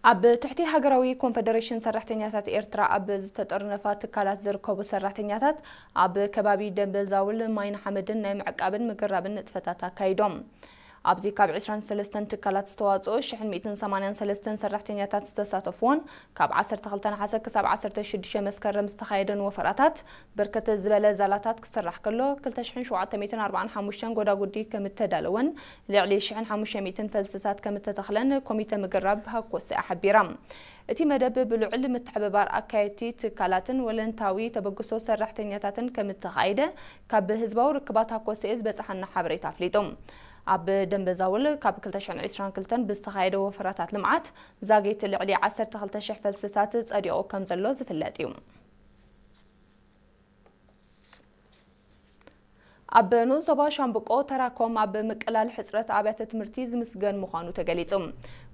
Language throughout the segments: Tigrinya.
ኣብ ትሕቲ ሃገራዊ ኮንፈደሬሽን ሰራሕተኛታት ኤርትራ ኣብ ዝተጠርነፋ ትካላት ዝርከቡ ሰራሕተኛታት ኣብ ከባቢ ደንበል ዛውል ማይን ሓመድን ናይ ምዕቃብን ምግራብን ንጥፈታት ኣካይዶም። ኣብዚ ካብ ዕስራን ሰለስተን ትካላት ዝተዋጽኦ ሽሕን ሚእትን ሰማንያን ሰለስተን ሰራሕተኛታት ዝተሳተፍዎን ካብ ዓሰርተ ክልተ ነሓሰ ክሳብ ዓሰርተ ሽዱሽተ መስከረም ዝተኻየደን ወፈራታት ብርክት ዝበለ ዛላታት ክስራሕ ከሎ፣ ክልተ ሽሕን ሸውዓተ ሚእትን ኣርባዓን ሓሙሽተን ጎዳጉዲ ከም እተዳለወን ልዕሊ ሽሕን ሓሙሽተ ሚእትን ፈልስታት ከም እተተኽለን ኮሚተ ምግራብ ሃኮሰ ሓቢራ። እቲ መደብ ብልዑል ምትሕብባር ኣካየድቲ ትካላትን ወለንታዊ ተበግሶ ሰራሕተኛታትን ከም እተኻየደ ካብ ህዝባዊ ርክባት ሃኮሰኤ ዝበጽሓና ሓበሬታ ኣፍሊጡ። ኣብ ደንበ ዛውል ካብ ክልተ ሽሕን ዕስራን ክልተን ብዝተኻየደ ወፈራታት ልምዓት ዛጌት ልዕሊ ዓሰርተ ክልተ ሽሕ ፈልስታት ጸዲቑ ከም ዘሎ ዝፍለጥ እዩ። ኣብ ንኡስ ዞባ ሻምብቆ ተራኮም ኣብ ምቅላል ሕጽረት ኣብያተ ትምህርቲ ዝምስገን ምዃኑ ተገሊጹ።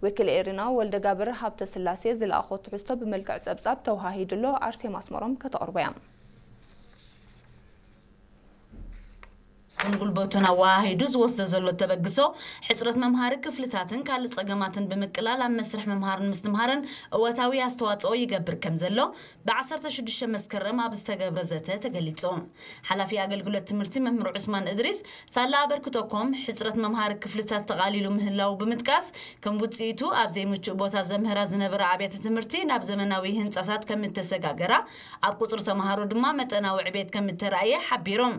ወኪል ኤሪና ወልደጋብር ሃብተ ስላሴ ዝለኣኾ ትሕዝቶ ብመልክዕ ጸብጻብ ተወሃሂዱሎ፣ ኣርሴማ ኣስመሮም ከተቕርቦ እያ። ጉልበቱን ኣወሃሂዱ ዝወስዶ ዘሎ ተበግሶ፣ ሕጽረት መምሃሪ ክፍልታትን ካልእ ጸገማትን ብምቅላል ኣብ መስርሕ ምምሃርን ምስትምሃርን እወታዊ ኣስተዋጽኦ ይገብር ከም ዘሎ ብ ዓሰርተ ሽዱሽተ መስከረም ኣብ ዝተገብረ ዘተ ተገሊጹ። ሓላፊ ኣገልግሎት ትምህርቲ መምህር ዑስማን እድሪስ፣ ሳላ ኣበርክቶኮም ሕጽረት መምሃሪ ክፍልታት ተቓሊሉ ምህላው ብምጥቃስ፣ ከም ውጽኢቱ ኣብ ዘይምቹእ ቦታ ዘምህራ ዝነበራ ኣብያተ ትምህርቲ ናብ ዘመናዊ ህንጻታት ከም እተሰጋገራ፣ ኣብ ቁጽሪ ተምሃሮ ድማ መጠናዊ ዕቤት ከም እተራእየ ሓቢሮም።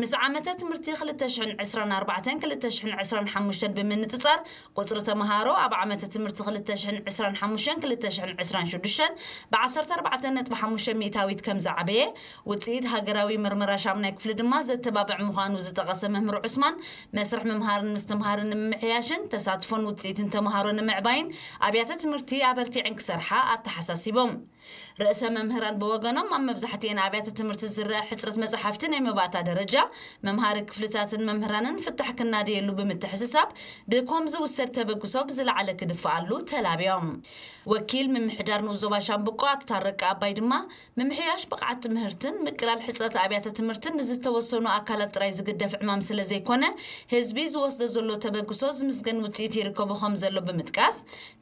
ምስ ዓመተ ትምህርቲ ክልተ ሽሕን ዕስራን ኣርባዕተን ክልተ ሽሕን ዕስራን ሓሙሽተን ብምንጽጻር፣ ቁጽሪ ተምሃሮ ኣብ ዓመተ ትምህርቲ ክልተ ሽሕን ዕስራን ሓሙሽተን ክልተ ሽሕን ዕስራን ሽዱሽተን ብ ዓሰርተ ኣርባዕተ ነጥቢ ሓሙሽተ ሚእታዊት ከም ዝዓበየ፣ ውጽኢት ሃገራዊ መርመራ ሻምናይ ክፍሊ ድማ ዘተባብዕ ምዃኑ ዝጠቐሰ መምህር ዑስማን፣ መስርሕ ምምሃርን ምስትምሃርን ንምምሕያሽን ተሳትፎን ውጽኢትን ተምሃሮ ንምዕባይን ኣብያተ ትምህርቲ ኣበርቲዐን ክሰርሓ ኣተሓሳሲቦም። ርእሰ መምህራን ብወገኖም፣ ኣብ መብዛሕትኤን ኣብያተ ትምህርቲ ዝረኣ ሕጽረት መጻሕፍቲ ናይ መባእታ ደረጃ፣ መምሃሪ ክፍልታትን መምህራንን ፍታሕ ክናደየሉ ብምትሕስሳብ፣ ብኮም ዝውሰድ ተበግሶ ብዝለዓለ ክድፍኣሉ ተላብዮም። ወኪል ምምሕዳር ንኡስ ዞባ ሻምብቆ ኣቶ ታረቀ ኣባይ ድማ፣ ምምሕያሽ ብቕዓት ትምህርትን ምቅላል ሕጽረት ኣብያተ ትምህርትን ንዝተወሰኑ ኣካላት ጥራይ ዝግደፍ ዕማም ስለ ዘይኮነ፣ ህዝቢ ዝወስዶ ዘሎ ተበግሶ ዝምስገን ውጽኢት ይርከቦ ከም ዘሎ ብምጥቃስ፣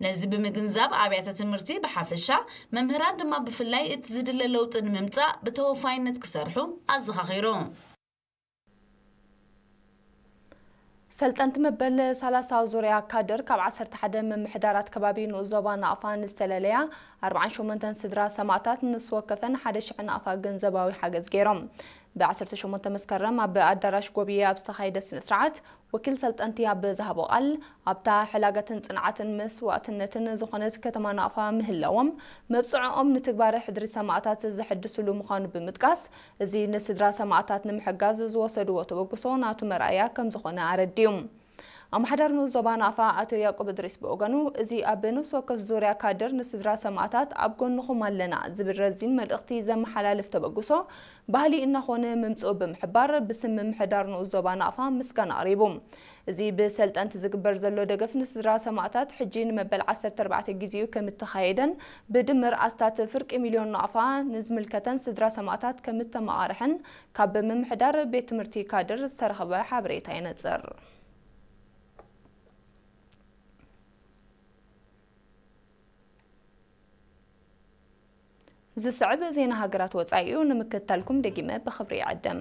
ነዚ ብምግንዛብ ኣብያተ ትምህርቲ ብሓፈሻ፣ መምህራን ድማ ብፍላይ እቲ ዝድለ ለውጢ ንምምጻእ ብተወፋይነት ክሰርሑ ኣዘኻኺሩ። ሰልጠንቲ መበል ሰላሳ ዙርያ ካድር ካብ ዓሰርተ ሓደ ምምሕዳራት ከባቢ ንኡስ ዞባ ናቕፋ ንዝተለለያ ኣርባዓን ሸሞንተን ስድራ ሰማእታት ንስ ወከፈን ሓደ ሽሕ ናቕፋ ገንዘባዊ ሓገዝ ገይሮም። ብ ዓሰርተ ሸሞንተ መስከረም ኣብ ኣዳራሽ ጎብየ ኣብ ዝተኻየደ ስነ ስርዓት፣ ወኪል ሰልጠንቲ ኣብ ዝሃቦ ቃል፣ ኣብታ ሕላገትን ጽንዓትን መስዋእትነትን ዝኾነት ከተማ ናቕፋ ምህላዎም፣ መብጽዕኦም ንትግባረ ሕድሪ ሰማእታት ዘሐድስሉ ምዃኑ ብምጥቃስ፣ እዚ ንስድራ ሰማእታት ንምሕጋዝ ዝወሰድዎ ተበግሶ ናቱ መርኣያ ከም ዝኾነ ኣረዲኡ። ኣመሓዳሪ ንኡስ ዞባ ናቕፋ ኣቶ ያዕቆብ እድሪስ ብወገኑ፣ እዚ ኣብ ነፍሲ ወከፍ ዙርያ ካድር ንስድራ ሰማእታት ኣብ ጎንኹም ኣለና ዝብል ረዚን መልእኽቲ ዘመሓላልፍ ተበግሶ ባህሊ እናኾነ ምምጽኡ ብምሕባር፣ ብስም ምምሕዳር ንኡስ ዞባ ናቕፋ ምስጋና ኣቕሪቡ። እዚ ብሰልጠንቲ ዝግበር ዘሎ ደገፍ ንስድራ ሰማእታት ሕጂ ንመበል ዓሰርተ ኣርባዕተ ግዜኡ ከም እተኻየደን፣ ብድምር ኣስታት ፍርቂ ሚልዮን ናቕፋ ንዝምልከተን ስድራ ሰማእታት ከም እተመቓርሐን ካብ ምምሕዳር ቤት ትምህርቲ ካድር ዝተረኸበ ሓበሬታ የነጽር። ዝስዕብ ዜና ሃገራት ወጻኢኡ ንምክትታልኩም ደጊመ ብኽብሪ ይዕድም።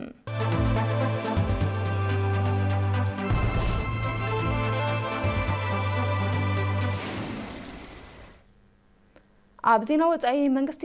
ኣብ ዜና ወጻኢ፣ መንግስቲ